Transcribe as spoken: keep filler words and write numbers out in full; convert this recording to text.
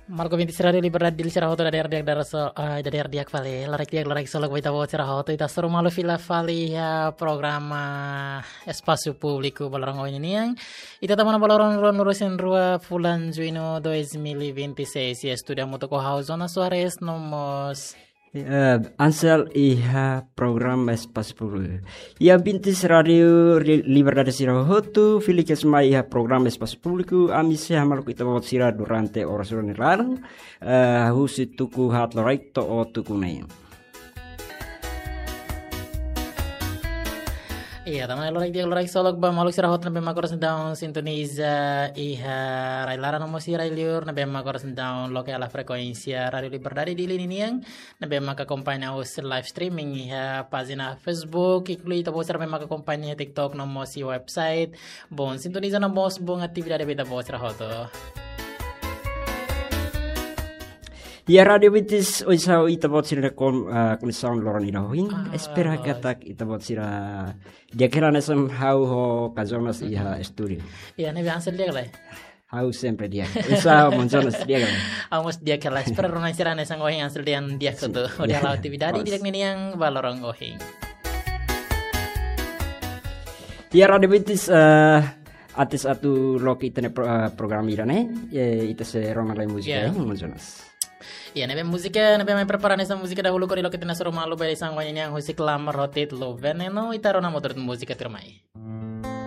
Maluk ouvintes Rádiu Liberdade Dili sira hotu, dadeer di'ak, dadeer so, ah, dadeer di'ak fali. Loraik di'ak, loraik solok ba ita-boot sira hotu. Ita hasoru malu fila fali iha programa Espasu Públiku ba loron ohin nian. Ita tama ona ba loron ruanulu-resin-rua fulan Juñu dois mil e vinte e seis. Iha estúdiu hamutuk ho ha'u Jonas Soares no mós Eh, Ansel iha programa Espasu Públiku. Iha ouvintes Rádiu Li-, Liberdade sira hotu, fila kedas mai iha programa Espasu Públiku, ami sei hamaluk ita-boot sira durante oras rua nia laran, eh, husi tuku haat loraik to'o tuku neen. Iya, tama ona, loraik di'ak, loraik solok ba maluk sira hotu ne'ebé mak oras ne'e daudaun sintoniza iha rai laran no mós iha rai liur, ne'ebé mak oras ne'e daudaun loke hela frekuénsia Rádiu Liberdade Dili ninian, ne'ebé mak akompaña husi live streaming iha pájina Facebook, inklui ita-boot sira ne'ebé mak akompaña iha TikTok no mós iha website. Bom sintonia no mós bom atividade ba ita-boot sira hotu. Iha rádiu ouvintes, oinsá ita-boot sira-nia kon-, ah, koneksaun loron ida ohin. Ah, espera loos. Katak ita-boot sira di'ak hela hanesan ha'u ho ka Jonas iha estúdiu. Iya, ne'ebé Ansel di'ak lai? Ha'u sempre di'ak. Oinsá maun Jonas, di'ak ka lae? Ha'u mós di'ak hela. Espera rona sira hanesan ohin Ansel dehan di'ak. Sin. Hotu. Hodi hala'o atividade. Loos. Di'ak ninian ba loron ohin. Iha rádiu ouvintes, eh, antes atu loke ita-nia pro-, eh, programa ida-ne'e, eh, ita sei rona lai múzika, iya, eh, maun Jonas. Iya, ne'ebé múzika, ne'ebé mai prepara hanesan múzika dahuluk hodi loke ita-nia hasoru malu ba ita-nia ohin nian, husi Klamar ho títulu Veneno, ita rona mós múzika tuirmai.